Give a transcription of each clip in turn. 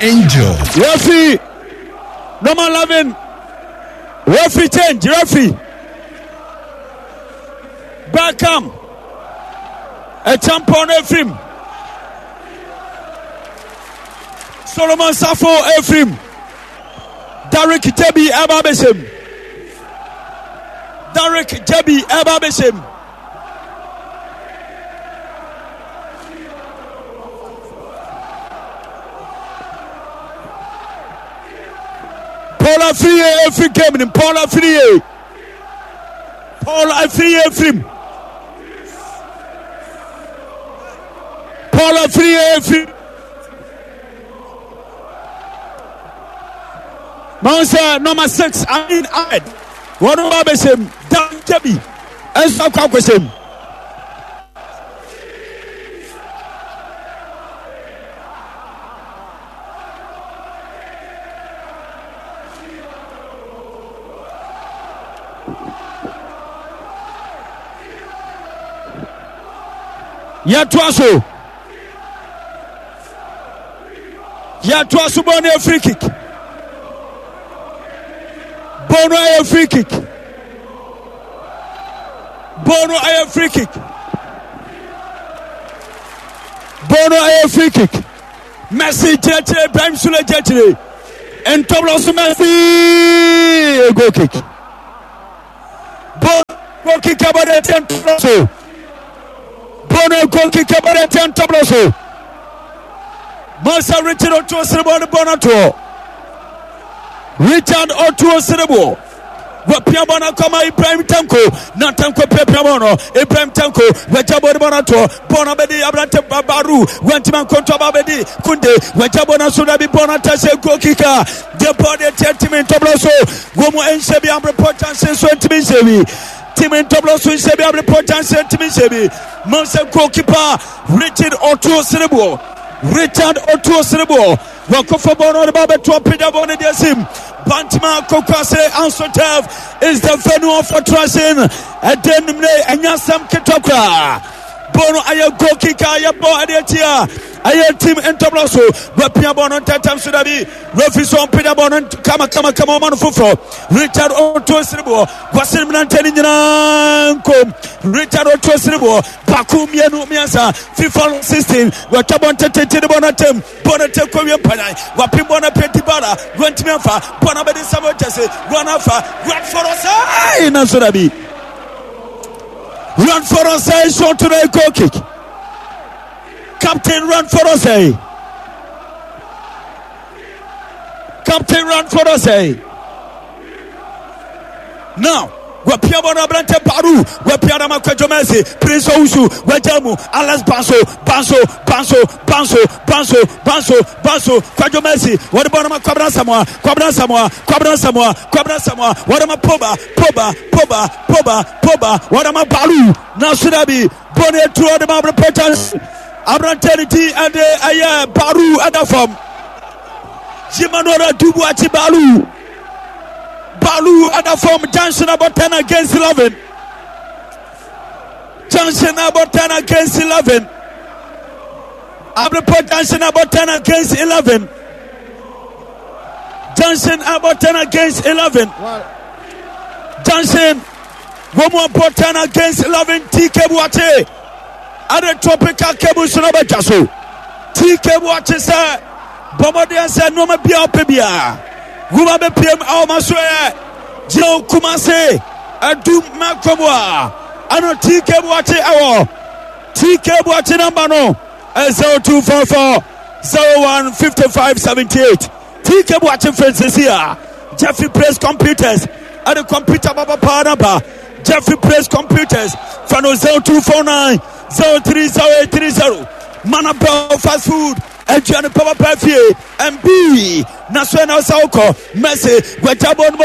Angel. Referee number 11. Referee change. Referee. Beckham. A champion Ephraim. Solomon Safo Ephraim. Derek Jebi ɛba abɛhyɛ mu. Derek Jebi ɛba abɛhyɛ mu. Paul Afriyie efiri game nim. Paul Afriyie. Paul Afriyie efiri mu. Paul Afriyie efiri. Mahu sɛ nɔma 6 Amin Ahmed wɔn ba abɛhyɛ mu Dan Jabi nso akɔ akɔhyɛ mu. Yɛtoa so. Yɛtoa so bɔ no yɛ free kick. Bɔ no ayɛ free kick. Bɔ no ayɛ free kick. Bɔ no ayɛ free kick. Messi kyerɛkyerɛ Ibrahim Sule kyerɛkyerɛ. Ntɔmlɔ so Messi goal kick. Bɔ goal kick abɔ de kyɛ ntɔmlɔ so. Bono goal kick abɔ de kyɛ ntɔmlɔ so. Masa Richard Otuo Sereboɔ no bɔ no toɔ. Richard Otuo Sereboɔ wapia bɔ no akɔma Ibrahim Tanko na Tanko piapia bɔ no Ibrahim Tanko wagya bɔ no bɔ no atoɔ bɔ no abɛdi aberante Baru wantumi ankonto aba abɛdi Kunde wagya bɔ no so dabi bɔ no atɛsɛ goal kick a deɛ bɔ deɛ tiɛ timi ntɔbrɔ so wɔ mu nhyɛ bi abrepɔ kyɛnse so ntumi nhyɛ bi timi ntɔbrɔ so nhyɛ bi abrepɔ kyɛnse ntumi nhyɛ bi Masa goalkeeper Richard Otuo Sereboɔ Richard Otuo Sereboɔ wakɔfa bɔɔl no ɔde ba abɛto apagya bɔɔl no de asim Bantama Kokwase Anso Turf is the venue of attraction. Ɛdɛ numere ɛnyɛ asɛm ketewa koraa. Bɔɔl no ayɛ goal kick a yɛbɔ ɛde akyi a ɛyɛ team ntɔbrɔ so wapia bɔɔl no ntɛntɛm so dabi refi so ɔmpagya bɔɔl no kama kama kama ɔma no foforɔ Richard Otuo Sereboɔ wasene mmerantɛ no nyinaa nkom Richard Otuo Sereboɔ baako mmienu mmiɛnsa FIFA 16 wɔatwa bɔ ntetete de bɔ no atam bɔ no tɛ kɔwie mpanyan wapem bɔ no apɛ dibara wantumi amfa bɔ no abɛde Samuel Gyasi wɔn afa Radford ɔsɛe nanso dabi Radford ɔsɛe shot to the goal kick Captain Radford ɔsɛe Captain Radford ɔsɛe Now, wapia bɔ no aberante Baru, wapia no ama Kwadwo Mercy, Prince Owusu, wagya mu, Alex Banso, Banso, Banso, Banso, Banso, Banso, Banso, Kwadwo Mercy, wɔde bɔ no ma Kwabena Samoa, Kwabena Samoa, Kwabena Samoa, Kwabena Samoa, wɔde ma Poba, Poba, Poba, Poba, Poba, wɔde ma Baru, nanso dabi, bɔ no atu ɔde ma Abrepɔ Johnson, aberante ne ti ɛde ɛyɛ Baru ɛda fam. Emmanuel Adubu Akyi Balu. Balu ɛda fam junction about 10 against 11. Junction about 10 against 11. Abrepɔ junction about 10 against 11. Junction about 10 against 11. Junction wɔn mu abɔ 10 against 11 TK Buakye ɛde tropical cable so na bɛtwa so TK Buakye sɛ bɔ mmɔden sɛ nneɛma biara ɔpɛ biara woma bɛpiem a wɔma so yɛ gyina wo kuma se adum mɛkɔ mu a ɛno TK Buakye ɛwɔ TK Buakye namba no 0244 01 55 78 TK Boakye Fensesi a Jeffrey Praise Computers ɛde computer baba paa na ba Jeffrey Praise Computers fa no 0249 030830 Mana Bell Fast Food aduane papa fie MB na so na ɔsa wokɔ Mercy wagya bɔ no mu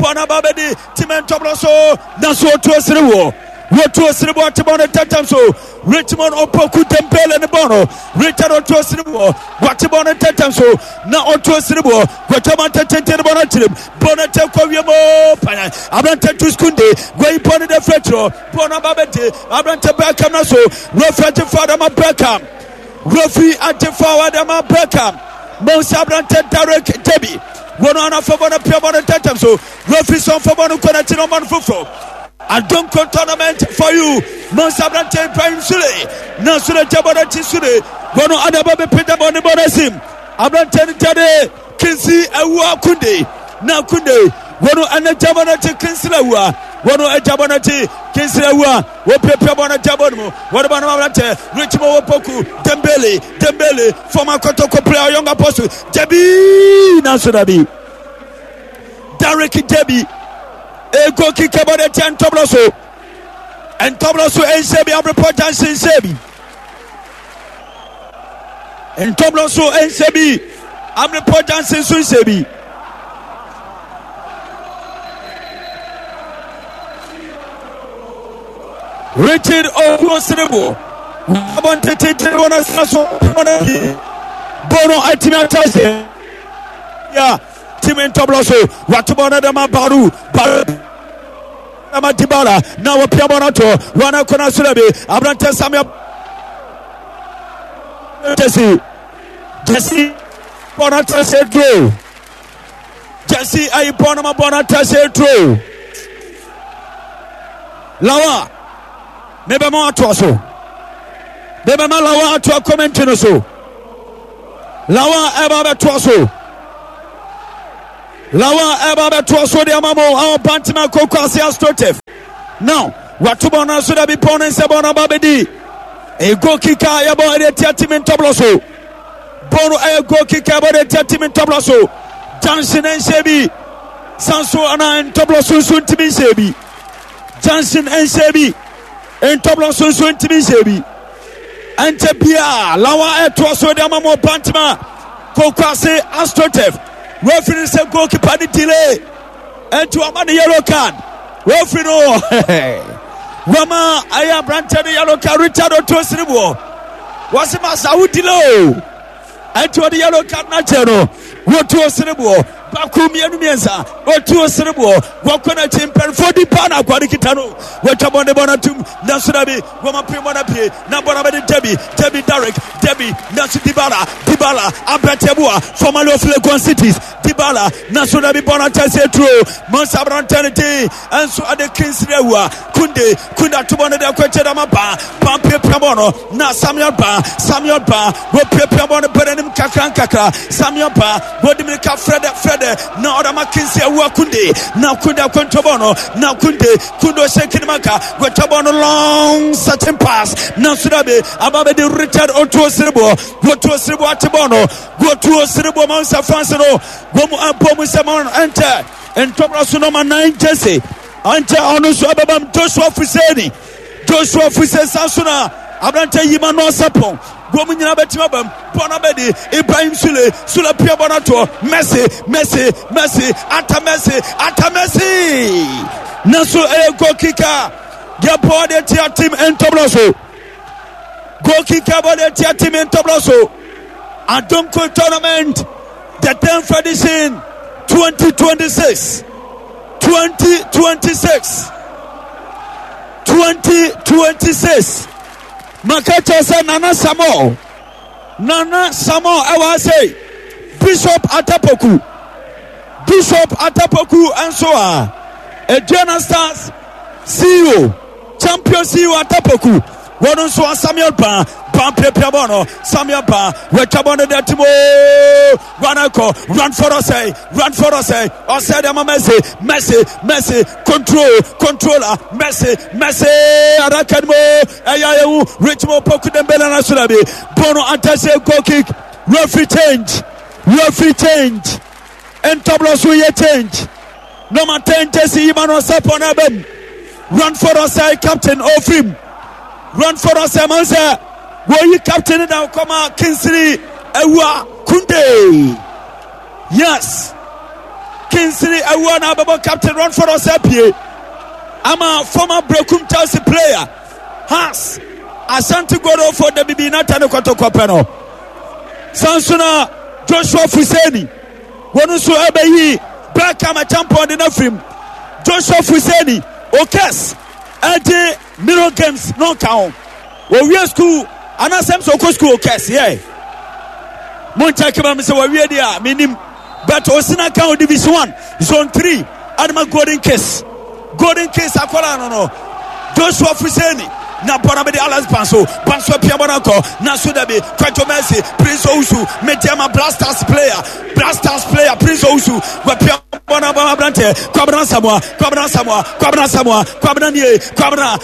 bɔ no aba bɛdi time ntɔbrɔ so na so ɔtuo sere wɔ wɔtuo sere bɔ ate bɔ no tɛntɛm so Richmond Opoku Dembele ne bɔ no Richard ɔtuo sere wɔ wate bɔ no tɛntɛm so na ɔtuo sere wɔ wɔtwa tɛntɛntɛn ne bɔ no akyerɛm bɔ no tɛ kɔ wiem panyan aberantɛ Tuskunde wɔyi bɔ no dɛ fɛ kyerɛ bɔ no aba bɛdi aberantɛ Beckham na so Refi agye fa dama Beckham Refi agye fa dama Beckham. Mousa aberantɛ Derek Debi wɔn anafɔ bɔ no pia bɔ no ntɛntɛm so. Referee sɔn fɔ bɔ no kɔ n'akyi na ɔma no foforɔ. Adonko tournament for you. Mousa aberantɛ Ibrahim Sule na Sule gya bɔ n'akyi Sule wɔn adabɔ bɛpagya bɔ ne bɔ no asim. Aberantɛ no gyade Kinsi Awua Kunde na Kunde wɔn ɛna gya bɔ n'akyi Kinsi Awua wɔn agya bɔ n'akyi Kinsi Awua wɔpiapia bɔ n'agya bɔ no mu wɔde bɔ no ma aberantɛ Richmond Opoku Dembele Dembele former Kotoko player Young Apostle Jabi nanso dabi Derek Jabi ego kike bɔ n'akyi ntɔbɔ so ntɔbɔ so nhyɛ bi abrepɔ junction nhyɛ bi. Ntɔmlɔ nso nhyɛ bi. Amrepɔ Johnson nso nhyɛ bi. Richard Okuo Serebo abɔ ntetete wɔn asena so wɔn akyi bɔɔl no atumi ata ase ya timi ntɔmlɔ so wato bɔɔl no dɛm abaru baru ama Dybala na wɔpia bɔ no ato wɔn akɔnɔ asoro bi aberante Samuel Jesse Jesse bɔ no ato sɛ duro Jesse ayi bɔ no ma bɔ no ato sɛ duro Lawa mebɛma atoa so mebɛma Lawa atoa kɔmɛnti no so Lawa ɛba bɛtoa so Lawa ɛba bɛtoa so de ama mo awɔ Bantama Koko ase Astroturf. Now wato bɔɔl no so dabi pɔn ne nsɛ bɔɔl no aba bɛdi. Ɛyɛ goal kick a yɛbɔ ɛde atia timi ntɔblɔ so. Bɔɔl no ɛyɛ goal kick a yɛbɔ de atia timi ntɔblɔ so. Junction nhyɛ bi. Sanso ana ntɔblɔ so nso ntimi nhyɛ bi. Junction nhyɛ bi. Ntɔblɔ so nso ntimi nhyɛ bi. Ɛnkyɛ biara Lawa ɛtoa so de ama mo Bantama Kokwase Astroturf. Referee no sɛ goalkeeper no delay ɛnti wama no yellow card. Referee no wama ɛyɛ aberanteɛ no yellow card Richard Otuo Siriboɔ. Wɔse masa wo delay o. Ɛnti ɔde yellow card no akyɛ no. Wɔtuo Siriboɔ baako mmienu mmiɛnsa wɔtuo Siriboɔ wɔkɔ n'akyi mpanimfoɔ di paa na akoa no kita no wɔatwa bɔne bɔ no atum nanso dabi wɔma pem bɔ no apue na bɔ no abɛde Debbie Debbie Derek Debbie nanso Dybala Dybala aberanteɛ boa formerly of Legon Cities Dybala nanso dabi bɔ no atɛsɛ turo Monsa aberanteɛ no din nso ade Kingsley Awua Kunde Kunde ato bɔ no de akɔ akyɛ dama ba ba piapia bɔ no na Samuel ba Samuel ba wɔpiapia bɔ no bɛ n'anim kakra nkakra Samuel ba wɔde mirika frɛdɛ frɛdɛ na ɔde ama Kingsley Awua Kunde na Kunde akɔntɔ bɔ no na Kunde Kunde ɔhyɛ kinimaka wɔtwa bɔ no long searching pass nanso dabi aba bɛde Richard Otuo Sereboɔ Otuo Sereboɔ ate bɔ no Otuo Sereboɔ ma nsa fansi no wɔn mu abɔ mu sɛ ma ɛnkyɛ ntɔbra so nɔma 9 jersey ankyɛ ɔno nso ɛbɛbam Joshua Fuseni Joshua Fuseni san so na aberantɛ yi ma no asapɔn wɔn mu nyinaa bɛtumi abam bɔ no abɛdi Ibrahim Sule Sule pia bɔ no atoɔ Messi Messi Messi ata Messi ata Messi nanso ɛyɛ goal kick a yɛbɔ de tia team ntɔbra so goal kick a bɔ de tia team ntɔbra so Adonko tournament the 10th edition 2026 2026 2026 maka kyerɛ sɛ Nana Samuel Nana Samuel ɛwɔ ha sei Bishop Atapoku Bishop Atapoku nso a Aduana Stars CEO Champion CEO Atapoku wɔn nso a Samuel Ban Ban piapia bɔɔl no Samuel Ban wɔatwa bɔɔl no de atim ooo run akɔ run for ɔsɛe run for ɔsɛe ɔsɛe de ama Messi Messi Messi control controller Messi Messi adaka no mu ɛyɛ ayɛwu Richmond Poku Dembele na soro bi bɔɔl no antɛsɛ goal kick referee change referee change ntɔbrɔ so yɛ change number 10 jersey yi ma no ɔsɛ pɔn abam run for ɔsɛe captain ofirim run for ɔsɛe man sɛ wɔyi captain da kɔma Kingsley Awua Kunde yes Kingsley Awua na abɛbɔ captain run for ɔsɛe pie ama former Brekum Chelsea player Has Asante Godo for the Bibi Nata ne kɔtɔkɔ pɛ no sanso na Joshua Fuseni wɔn nso ɛbɛyi Beckham Acheampong de no afirim Joshua Fuseni Okes ɛgye Mirror Games no nka ho wɔwie school anaasɛm sɛ ɔkɔ school Okes yɛ. Monkyɛke ma me sɛ wawie deɛ a menim. But Osina ka Division 1 Zone 3 Adama Golden Kiss. Golden Kiss akwadaa no no. Joshua Fuseni na bɔna bɛde Alex Banso. Banso apia bɔna kɔ. Na so dabi Kwadwo Mercy Prince Owusu Mediama Blasters player. Blasters player Prince Owusu wapia bɔna bɔna aberanteɛ Kwabena Samoa Kwabena Samoa Kwabena Samoa Kwabena nie Kwabena.